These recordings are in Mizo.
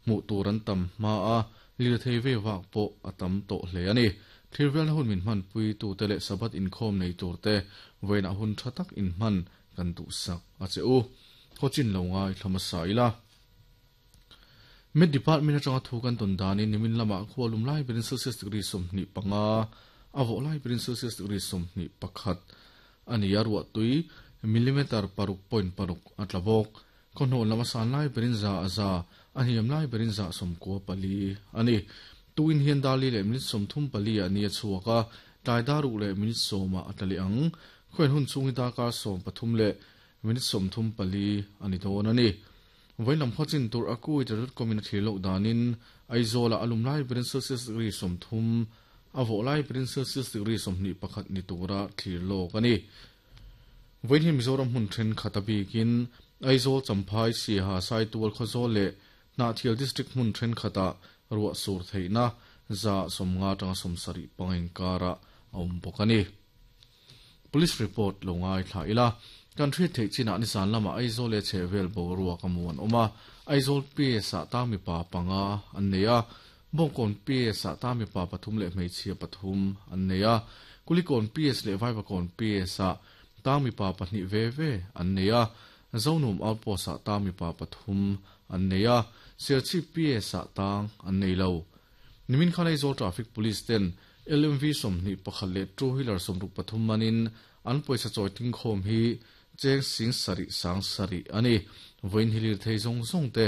Hmuh tur an tam hma a, lirthei vei vak pawh a tam tawh hle a ni. Thirvelna hun min hmanpui tute leh Sabbath inkhawm nei turte vawiinah hun tha tak inhman kan duhsak a che u. Khawchin lo ngai thla hmasa ila. Met Department atanga thu kan tawn danin nimin lamah khua lum lai berin Celsius degree 25, a vawh lai berin Celsius degree 21 a ni a, ruahtui millimeter paruk point paruk a tla bawk. Khawhnawh lam a san lai berin za a za, a hniam lai berin za 94 a ni. Tuin hian dar li leh minute 34 ah ni a chhuak a, tlai dar ruk leh minute 10 ah a tla leh ang. Khawian hun chhung hi darkar 13 leh minute 34 a ni dawn a ni. Vawiin lam khaw chin tur a Kuwait dot com in a thlir loh danin Aizawl ah a lum lai berin Celsius degree 30, a vawh lai berin Celsius degree 21 ni tura thlir lawk a ni. Vawiin hi Mizoram hmun thenkhat a bikin Aizawl, Champhai, Siaha, Saitual, Khawzawl leh Hnahthial District hmun thenkhatah ruah sur theihna 50% atanga 70 panga inkarah a awm bawk a ni. Police report lo ngaithla ila, kan hriat theih chinah nizan lamah Aizawl leh chhehvel boruak a mu an awm a, Aizawl PS-ah tang mipa panga an nei a, Bawngkawn PS-ah tang mipa pathum leh hmeichhia pathum an nei a, Kulikawn PS leh Vaivakawn PS-ah tang mipa pahnih ve ve an nei a, Zonum Outpost-ah tang mipa pathum an nei a, Serchhip PS-ah tang an nei lo. Nimin khan Aizawl Traffic Police ten LMV 21 leh two wheeler 63 manin an pawisa chawi tingkhawm hi cheng sing sarih sang sarih a ni. Vawiin hi lirthei zawng zawng te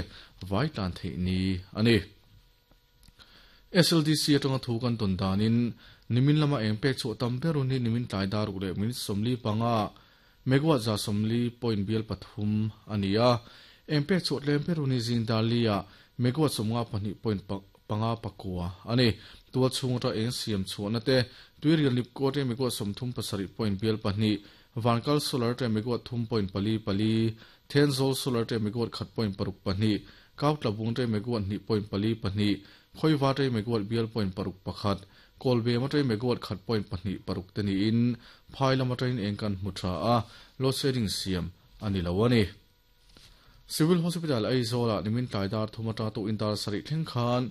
vai tlan theih ni a ni. SLDC atanga thu kan tawn danin nimin lama eng pek chhuah tam ber hun hi nimin tlai dar ruk leh minute 45 megawatt 140 point bial pathum a ni a. Eng pek chhuah tlem ber hun hi zing dar li ah megawatt 52 point panga pakua a ni. Tual chhung atanga eng siam chhuahna te tuirial nipkaw te megawatt 37 point bial pahnih, Vankal solar te megawatt thum point pali pali, Thenzawl solar te megawatt khat point paruk pahnih, Kautlabung te megawatt hnih point pali pahnih, Khawiva te megawatt bial point paruk pakhat, Kawlbem atangin megawatt khat point pahnih paruk te niin phai lam atangin eng kan hmu tha a, load shedding siam a ni lo a ni. Civil Hospital Aizawl-ah nimin tlai dar thum atanga tukin dar sarih thleng khan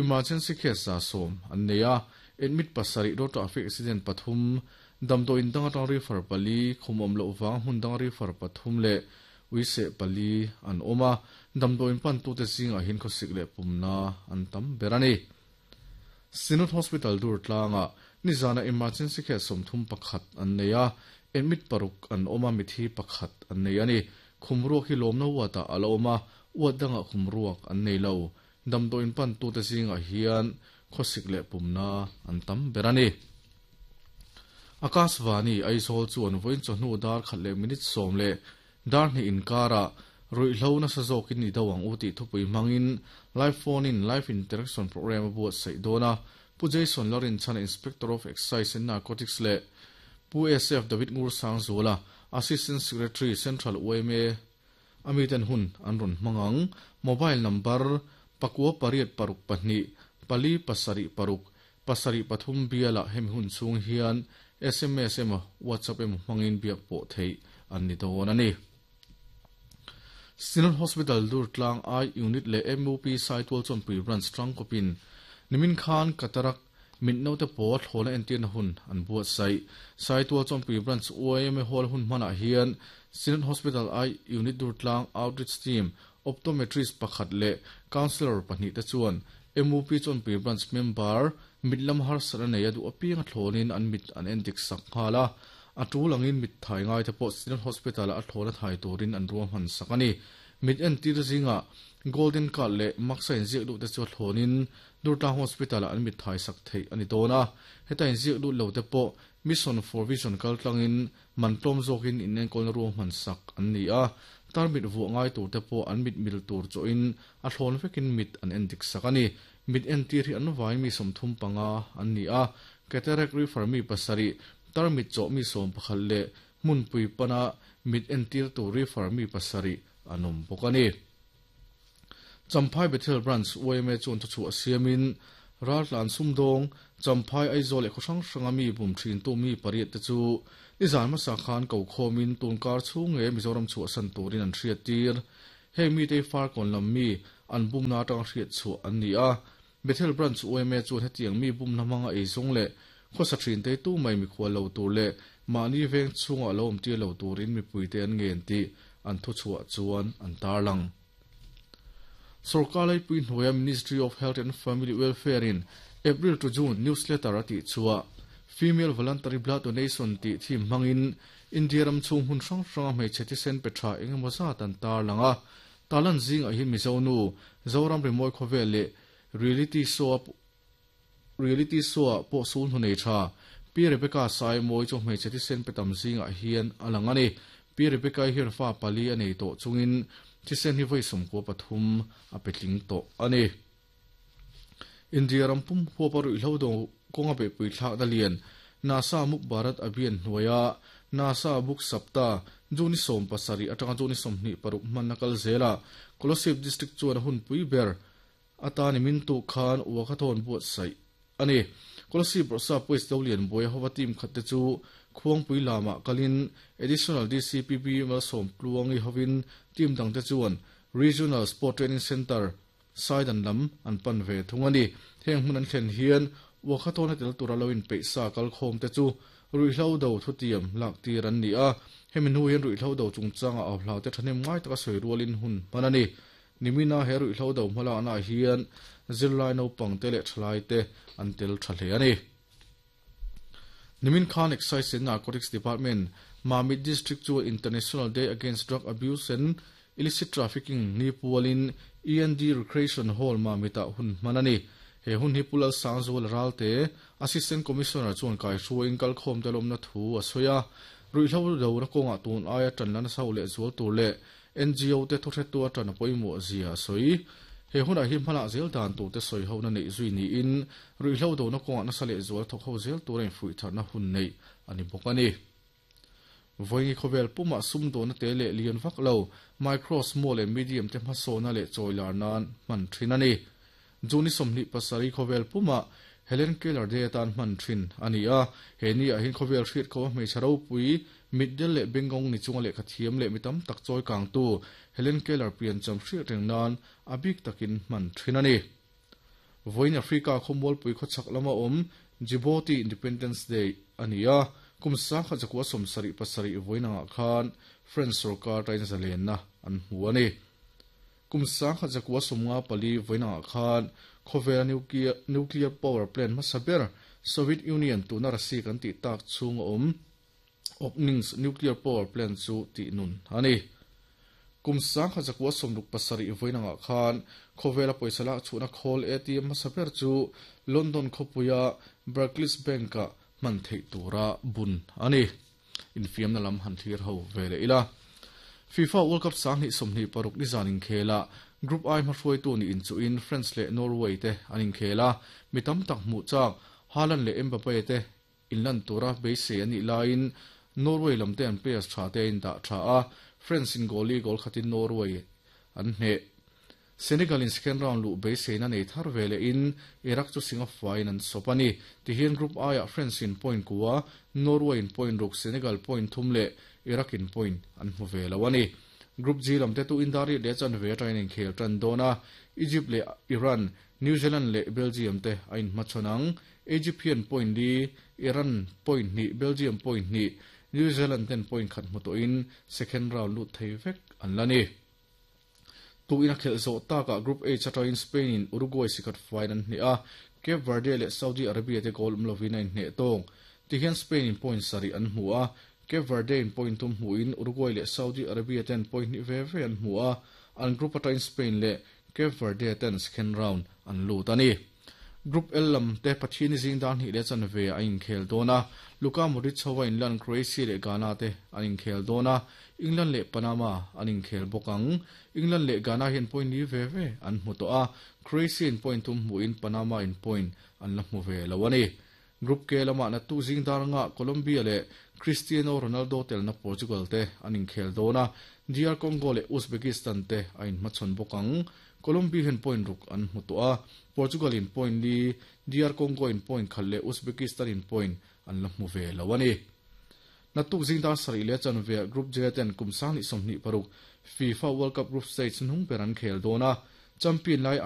emergency case 110 an nei a, admit pasarih, road traffic accident pathum, damdawiin dang atanga refer pali, khum awm loh vang hmun danga refer pathum leh uiseh pali an awm a, damdawiin pantute zingah hian khawsik leh pumna an tam ber a ni. Synod Hospital dur tlangah nizana emergency case 31 an nei a, admit paruk an awm a, mithi pakhat an nei a ni. Khum ruak hi lawmna ward-ah a la awm a, ward dangah khum ruak an nei lo. Damdawiin pantute zingah hian khawsik leh pumna an tam ber a ni. Akashvani, Aizawl chuan vawiin chawhnu dar khat leh minute 10 leh dar hnih inkarah ruihhlo nasa zawkin i do ang u tih thupui hmangin live phone in live interaction program a buatsaih dawn a. Pu Jason Larinchhana Inspector of Excise and Narcotics leh Pu SF David Ngursangzuala Assistant Secretary Central yma a miten hun an rawn hmang ang. Mobile number pakua pariat paruk pahnih pali pasarih paruk pasarih pathum bialah hemi hun chhung hian SMS emaw WhatsApp emaw hmangin biak pawh theih an ni dawn a ni. Synod Hospital Durtlang I Unit leh MUP Saitual Chawnpui Branch tangkawpin nimin khan Cataract mit naute pawl thlawhna entirna hun an buatsaih. Saitual Chawnpui Branch YMA Hall hun hmanah hian Synod Hospital I Unit Durtlang Outreach Team Optometrist pakhat leh Counsellor pahnih te chuan MUP Chawnpui Branch member mit lam harsatna nei a duh apiang a thlawnin an mit an endik sak nghal a. A tul angin mit thai ngai te pawh Synod Hospital-ah a thlawna thai turin an ruahman sak a ni. Mit entir zingah Golden Card leh Maksa inziak lut te chu a thlawnin Durtlang Hospital-ah an mit thai sak theih a ni dawn a. Heta inziak lut lo te pawh Mission for Vision kaltlangin man tlawm zawkin inenkawlna ruahman sak an ni a. Tar mit vuah ngai tur te pawh an mit mil tur chawhin a thlawn vekin mit an endik sak a ni. Mit entir hi an vain mi 35 an ni a. Cataract refer mi pasarih, tar mit chawh mi 11 leh hmunpui pana mit entir tur refer mi pasarih an awm bawk a ni. Champhai Bethel Branch YMA chuan thuchhuah siamin raltlan sumdawng Champhai Aizawl leh khaw hrang hranga mi bum thintu mi pariat te chu nizan hmasa khan ko khawmin tunkar chhung nge Mizoram chhuahsan turin an hriat tir. Heng mite hi Farkawn lam mi an bumna atanga hriat chhuah an ni a. Bethel Branch yma chuan hetiang mi bumna hmanga eizawng leh khawsa thin te tu mai mikhual lo tur leh mahni veng chhungah lo awm tir lo turin mipuite an ngen tih an thuchhuah chuan an tarlang. Sorkar laipui hnuaia Ministry of Health and Family Welfare in April to June newsletter a tihchhuah Female Voluntary Blood Donation tih theme hmangin India ram chhung hmun hrang hranga hmeichhe thisen pe tha eng emaw zat an tarlang a. Tarlan zingah hi Mizo nu, Zoram rimawi khawvel leh Reality show a Reality show ah pawh sul hnu nei tha. Pi Rebecca Saimawi chu hmeichhe thisen pe tam zingah hian a lang a ni. Pi Rebecca-i hian fa pali a nei tawh chungin thisen hi vawi 13 a pe tling tawh a ni. India ram pum huapa ruihhlo do kawnga beihpui thlakna lian Nasa Muk Bharat Abhiyan hnuaia Nasa Buk Sapta June 17 atanga June 26 hmanna kal zelah Kolasib District chuan a hunpui ber Atani min tuk khan Uakhathawn buatsaih a ni. Kolasib Rawhsa Police do lian buai hova team khat te chu Khuangpui lamah kalin Additional DCPB Malsawm Tluangi hovin team dang te chuan Regional Sport Training Centre Saidan lam an pan ve thung a ni. Heng hmun an thlen hian Uakhathawn a tel tura lo inpeih sa kalkhawm te chu ruihhlo do thutiam lak tir an ni a. Hemi hnu hian ruihhlo do chungchanga au hlau te thahnem ngai taka sawi rualin hun hman a ni. Nimina he ruihhlo do hmalaknaah hian zirlai naupangte leh thalaite an tel tha hle a ni. Nimin khan Excise and Narcotics Department, Mamit District chu International Day Against Drug Abuse and Illicit Trafficking ni pualin END Recreation Hall Mamit-ah hun hman a ni. He hun hi Pu Lalsangzuala Ralte, Assistant Commissioner chuan kaihruaiin kalkhawmte lawmna thu a sawi a. Ruihhlo dona kawngah tun aia tanla nasa u lehzual tur leh NGO te thuhretu atan a pawimawh zia a sawi. He hunah hi hmalah zel dan tur te sawi hona neih zui niin ruihhlo dona kawngah nasa lehzual thawk ho zel tura infuih tharna hun neih a ni bawk a ni. Vawiingi khawvel pumah sumdawna te leh lian vak lo, micro, small and medium te hmasawna leh chawilar nan hman thin a ni. June 27 khawvel pumah Helen Keller Day atan hman thin a ni a. He ni ah hian khawvel hriat kho a hmeichhe ropui, mitdel leh bengawng ni chunga lehkha thiam leh mi tam tak chawi kangtu Helen Keller piancham hriat reng nan a bik takin hman thin a ni. Vawiin Africa khawmualpui khawchhak lama awm Djibouti Independence Day a ni a, kum 1977 vawiin angah khan French sorkar tain zalenna an hmu a ni. Kum 1954 vawiin angah khan khawvela nuclear power plant hmasa ber Soviet Union tuna Russia kan tih tak chhung a awm Obninsk nuclear power plant chu tih nun a ni. Kum 1967 vawiin angah khan khawvela pawisa lak chhuahna khawl ATM hmasa ber chu London khawpuia Barclays Bank-ah hman theih tura bun a ni. Infiamna lam han thlir ho ve leh ila. FIFA World Cup 2026 nizan inkhela Group I hmahruaitu nih inchuhin France leh Norway te an inkhel a, mi tam tak hmuh chak Haaland leh Mbappe te inlan tura beisei an nih laiin Norway lam te an players tha te a indah tha a, France in goal li goal khatin Norway an hneh. Senegal in second round luh beiseina nei thar ve lehin Iraq chu Singapore in an sawp a ni. Tihian Group I ah France in point kua, Norway in point ruk, Senegal point thum leh Iraq in point an hmu ve lo a ni. Group G lam te tu indariat leh chanve atangin inkhel tan dawn a, Egypt leh Iran, New Zealand leh Belgium te a inhmachhawn ang. Egypt hian point li, Iran point hnih, Belgium point hnih, New Zealand ten point khat hmu tawhin second round lut thei vek an la ni. Tukin a khelh zawh takah Group H atangin Spain in Uruguay sikhat faiin an hneh a, Cape Verde leh Saudi Arabia te goal awm lovin a inhneh tawng. Tihian Spain in point sarih an hmu a, Cape Verde in point thum hmuhin Uruguay leh Saudi Arabia ten point hnih ve ve an hmu a, an group atangin Spain leh Cape Verde ten second round an lut a ni. Group L lam te Pathiani zing dar hnih leh chanve a inkhel dawn a, Luka Modric hova inlan Croatia leh Ghana te an inkhel dawn a, England leh Panama an inkhel bawk ang. England leh Ghana hian point li ve ve an hmu tawh a, Croatia in point thum hmuhin Panama in point an la hmu ve lo a ni. Group K lamah naktuk zing dar anga Colombia leh Cristiano Ronaldo telna Portugal te an inkhel dawn a, DR Congo leh Uzbekistan te a inhmachhawn bawk ang. Colombia hian point ruk an hmu tawh a, Portugal in point li, DR Congo in point khat leh Uzbekistan in point an la hmu ve lo a ni. Naktuk zing dar sarih leh chanve Group J ten kum 2026 FIFA World Cup Group Stage hnung ber an khel dawn a. Champion lai.